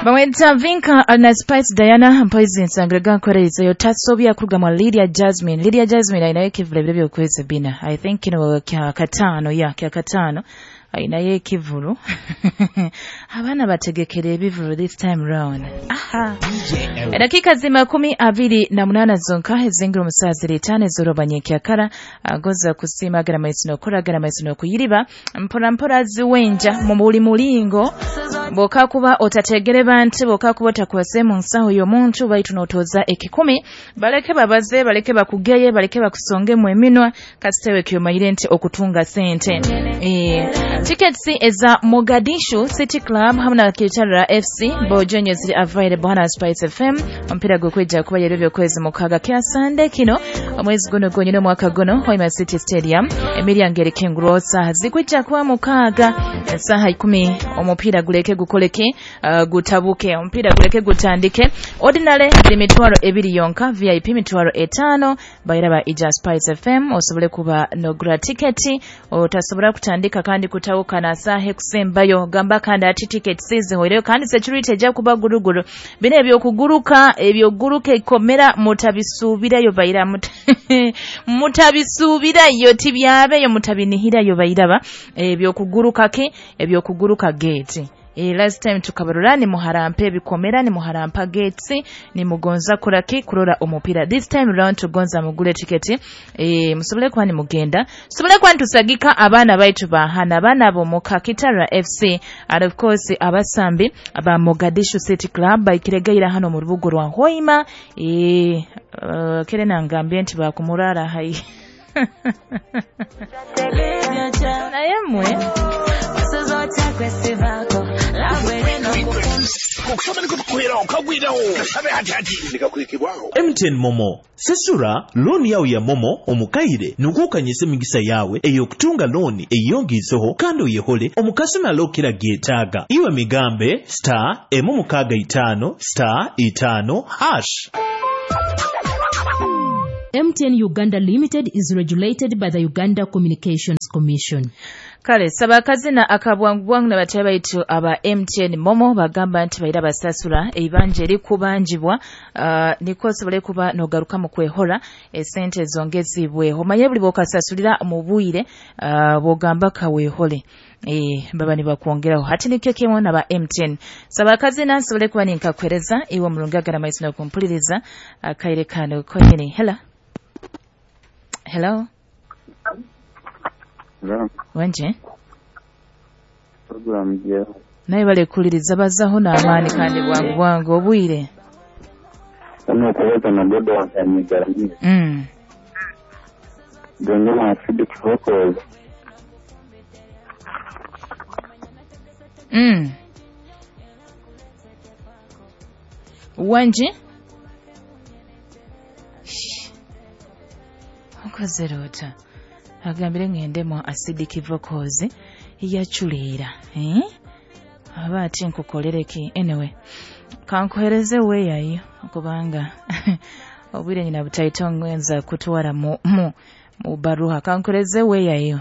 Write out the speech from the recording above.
Bamwita Vinka na Spice Diana mpoizi nsangirega nkorerezeyo yotasobya kuruga mwa Lydia Jasmine. Lydia Jasmine ainayo ekivulu ebiro by'okwezi bina. I think kino kya kataano, ya kya kataano ainayo ekivulu. Abaana bategekera ebivulu this time round. Aha. Dakika zima 28 zonka ezingira omusazi ritano ez'orobanyekya agoza kusiima agara maiso n'okora agara maiso n'okuyiriba mpora mpora ziwenja mu buli mulingo boka kuba otategere bantu boka kuba otakwase mu nsaho y'omuntu baitu n'otoza ekikumi baleke babaze baleke bakugeye baleke bakusonge mu eminwa kasitewe kyomayire nti okutunga sente. Tickets eza Mogadishu City Club hamwe na Kitara FC bojonye ziri available hana Spice FM. Omupiira gwekwijja kuba yero by'okwezi mukaaga kya Sunday kino omwezi guno gwonyine omwaka guno Hoima City Stadium emiryango erikingurwaho saaha zikwijja kuba mukaaga esaaha 10 omupiira guleke gukoleke gutabuke omupiira guleke gutandike. Ordinary ziri mitwaro 2 yonka, VIP mitwaro 5 bayiraba ija Spice FM osobole kuba nogura tiketi otasobola kutandika kandi kutawuka na saaha ekusembayo gamba kandi ati tickets zihoireyo kandi security ejja kuba guruguru bino ebyokuguruka ebyoguruka ekomera mutabisuubirayo bayira mutabisuubirayo tibyabeyo mutabinihirayo bayiraba ebyokuguruka ke ebyokuguruka gate. Last time tukabarura ni muharampa ebikomera ni muharampa gates ni mugonza kuraki kurora omupira. This time round tugonza mugule tiketi musobole kuba ni mugenda sobole kuba ntusagika abaana baitu bahana abaana bo mu Kitara FC and of course abasambi aba Mogadishu City Club baikiregaira hano mu rubugo rwa Hoima. Kere nangambye nti bakumurara hai naye mwe MTN Momo sesura looni yawe ya Momo omukaire nukukanyisa emigisa yawe ey'okutunga looni eyongiiseho kandi oyehole omukasumi alokera geetaaga iwe migambe star 165 star 5 hash. MTN Uganda Limited is regulated by the Uganda Communications Commission. Kale sabakazina akabwangu na batya baitu aba MTN Momo bagamba nti baira basasula ebibanja erikubanjibwa niko sobole kuba nogaruka mu kwehora esente zongezibwe omanye buli bokasasulira mu bwire bogamba kawehole baba nibakwongeraho hati nikyo kimwe na ba MTN sabakazina sobole kuba ninkakwereza iwe mulungaga maiso no kumpuliriza akaire kano konyene. Hello. Hello. Wenje? Program je. Naye bale kuliriza bazaho n'amaani kandi bwangu bwangu obwire. Kama kuweza na bodo wa garamia. Dongema acidic vocals. Wenje? Okozerota. Agambire ngendemo acidic vocals yachuleera aba ati nkukolereki anyway kankuhereze weyayo kubanga obwire nyina butaito ngwenza kutwara mu baruha kankuhereze weyayo.